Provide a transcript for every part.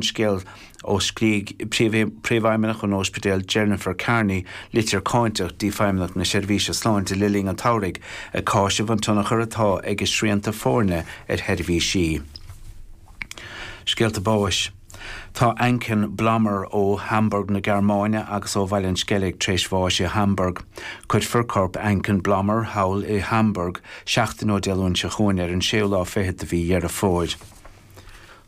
scéal ó scrígh Príomhfheidhmeannach an Ospidéil Jennifer Kearney litir cáinteach dtí Feidhmeannacht na Seirbhíse Sláinte le linn an tsamhraidh ag cáiseamh an tionchar atá ag a srianta foirne ar sheirbhísí. Scéalta báis. Tá Anken Blommer ó Hamburg na Gearmáine agus ó Bhaile an Sceilg tar éis bháis i Hamburg. Cuirfear corp Anken Blommer thall i Hamburg seachtain ó Dé Luain seo chugainn ar an séú lá fichead de mhí Dheireadh Fómhair.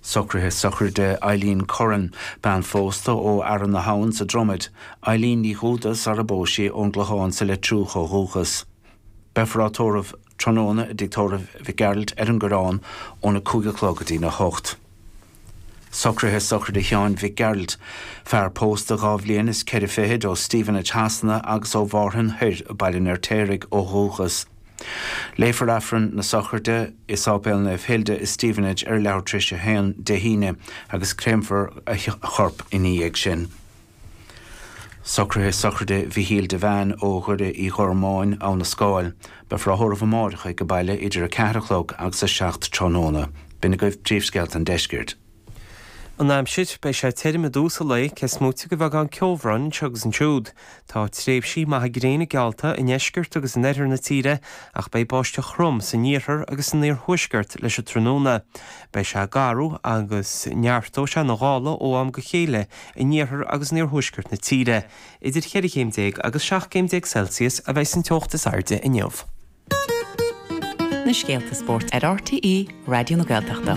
Socruithe sochraide Eileen Curran, bean phósta ó Fhearann na hAbhann sa Dromaid, Eileen Ní Dhúda sara bpós sí ón gClochán sa Leitriúch ó dhúchas. Beifear á tórramh tráthnóna i dTigh Tórraimh Mhic Gearailt ar an gCoireán óna 5 a chlog go dtína 8. Socruithe sochraide Sheáin Mhic Gearailt, fear pósta 2 bhliain is 4 fichid ó Stevenage Shasana agus ó Mhárthain Thoir, Baile an Fheirtéaraigh, ó dhúchas. Léifear Aifreann na sochraide i Sáipéal Naomh Hilda i Stevenage ar leathuair tar éis a haon Dé hAoine agus créamfar a chorp ina dhiaidh sin. Socruithe sochraide Mhichíl Devane ó Dhoire Uí Ghormáin, Abha na Scáil. Beifear á thórramh amáireach ag baile idir 4 a chlog agus 7 tráthnóna. B'in agaibh príomhscéalta an deiscirt. An aimsir, Beidh sé tirim i dtús an lae, cé is móite de bheagán ceobhráin anseo agus ansiúd. Tá tréimhsí maithe gréine geallta i ndeisceart agus in oirthear na tíre ach beidh báisteach throm san iarthar agus san iarthuaisceart leis an tráthnóna. Beidh sé garbh agus neartóidh sé na gála ó am go chéile in iarthar agus in iarthuaisceart na tíre. Idir cheithre chéim déag agus 17 gcéim Celsius a bheidh an teocht is airde inniu. Na scéalta spóirt ar RTÉ Raidió na Gaeltachta.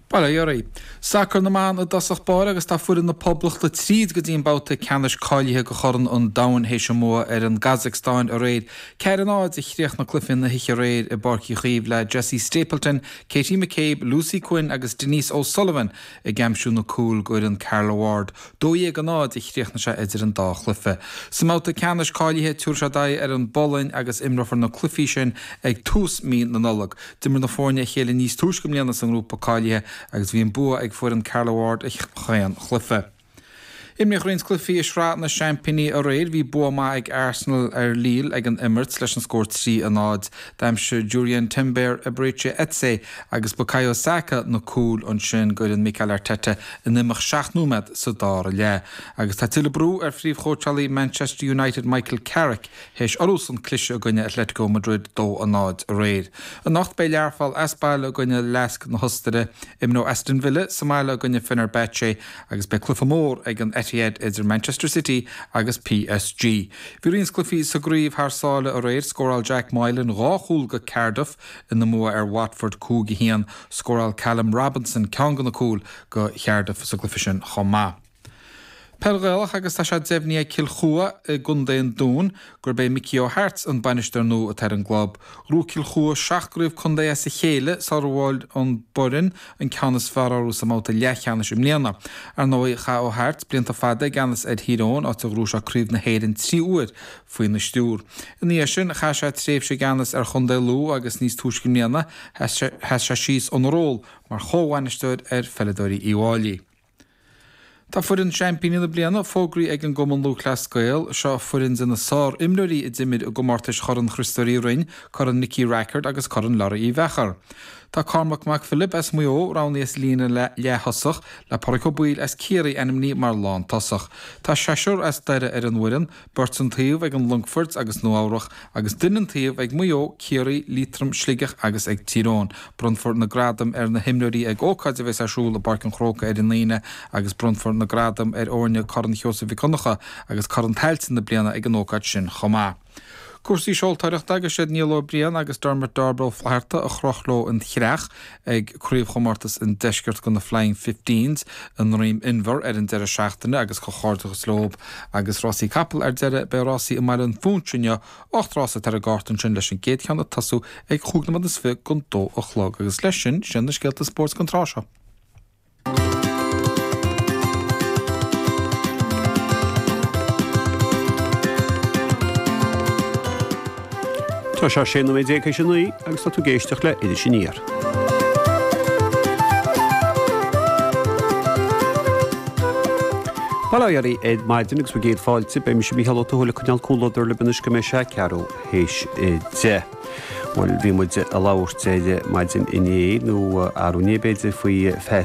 Bail ó Dhia oraibh. Sacar na mban i dtosach báire agus tá foireann na Poblachta tríd go dtí an babhta ceannais cáilithe do Chorn an Domhain théis a mbua ar an gCasacstáin aréir. 4-0 a chríochnaigh cluiche na hoíche aréir i bPáirc Uí Chaoimh le Jessie Stapleton, Katie McCabe, Lucy Quinn agus Denise O'Sullivan ag aimsiú na cúil d'fhoireann Carla Ward. 12-0 a chríochnaigh sé idir an dá chluiche. Sa mbabhta ceannais cáilithe, tabharfaidh siad aghaidh ar an bPolainn agus imreofar na cluichí sin ag tús mí na Nollag. D'imir na foirne a chéile níos túisce i mbliana sa ngrúpa cáilithe agus bhí an bua ag foireann Carla Ward i chaon chluiche. Imríodh roinnt cluichí i Sraith na Seaimpíní aréir. Bhí bua maith ag Arsenal ar Lille ag an Emirates leis an scór 3 a 0. D'aimsigh Jurrien Timber, Eberechi Eze agus Bukayo Saka na cúil ansin d'fhoireann Mikel Arteta in imeacht 7 nóiméad sa dara leath. Agus tá tuilleadh brú ar phríomhchóitseálaí Manchester United Michael Carrick théis orthusan cliseadh i gcoinne Atletico Madrid 2-0 aréir. Anocht beidh Learpholl as baile i gcoinne Lask na hOstaire, imreoidh Aston Villa sa mbaile i gcoinne Fenerbahce agus beidh cluiche mór ag an Etihad idir Manchester City agus PSG. Bhí roinnt cluichí sa gcraobh thar sáile aréir, scóráil Jack Moylan 2 chúl go Cardiff ina mbua ar Watford 5-1. Scóráil Callum Robinson ceann de na cúil go Chardiff sa gcluiche sin chomh maith. Peil Ghaelach agus tá sé deimhnithe ag Cill Chua i gContae an Dúin gurb é Mickey O'Hart an bainisteoir nua atá ar an gclub. Ghnóthaigh Cill Chua 7 gcraobh contae as a chéile sular bhuail an Boireann an ceann is fearr orthu sa mbabhta leathcheannais i mbliana. Ar ndóigh, chaith O'Hart blianta fada i gceannas ar Thír Eoghain, áit a ghnóthaigh sé Craobh na hÉireann 3 huair faoina stiúr. Ina dhiaidh sin, chaith sé tréimhse i gceannas ar chontae Lú agus níos túisce i mbliana, sheas sé síos óna ról mar chomhbhainisteoir ar pheileadóirí Uíbh Fháilí. Tá foireann seaimpíní na bliana fógraithe ag an gCumann Lúthchleas Gael. Seo foireann de na sár-imreoirí a d'imir i gcomórtais Chorn Chriostóir Uí Rinn, Corn Nicky Rackard agus Corn Learaí Uí Mheachair. Tá Cormac Mac Philib as Maigh Eo roghnaithe as líne leath-thosach, le Pádraic Ó Baoill as Ciarraí ainmnithe mar lántosach. Tá seisear as Doire ar an bhfoireann, beirt an taobh ag an Longfort agus Nua Eabhrach agus duine an taobh ag Maigh Eo, Ciarraí, Liatroim, Sligeach agus ag Tír Eoghain. Bronnfar na gradaim ar na himreoirí ag ócáid a bheas ar siúl i bPáirc an Chrócaigh ar an Aoine agus bronnfar na gradaim ar fhoirne Corn Sheosaimh Mhic Dhonncha agus Corn Tailteann na bliana ag an ócáid sin chomh maith. Cúrsaí seoltóireachta agus siad Niall Ó Briain agus Dermot Darb Ó Flatharta a chroch leo an chreach ag Craobhchomórtas an Deiscirt do na Flying Fifteens i nDroim Inbhear ar an deireadh seachtaine agus comhghairdeachas leo agus rásaí capall ar deireadh. Beidh rásaí i mBaile an Phúinse inniu, 8 rás atá ar an gcárta ansin leis an gcéad cheann ag tosú ag chúig nóiméad is fiche don dó a chlog agus leis sin, sin na scéalta spóirt don tráth seo. Tá sé 16 nóiméad théis a 9 agus tá tú ag éisteacht le Iris Aniar. Bail ó Dhia oraibh ar maidin agus bhur gcéad fáilte. Beidh mise Mícheál Ó Tuathail ag coinneáil comhluadar libh anois go mbeidh sé ceathrú théis 10. Bhuel, bhí muid ag labhairt ar maidin inné, nó arú inné b'fhéidir, faoi Phat.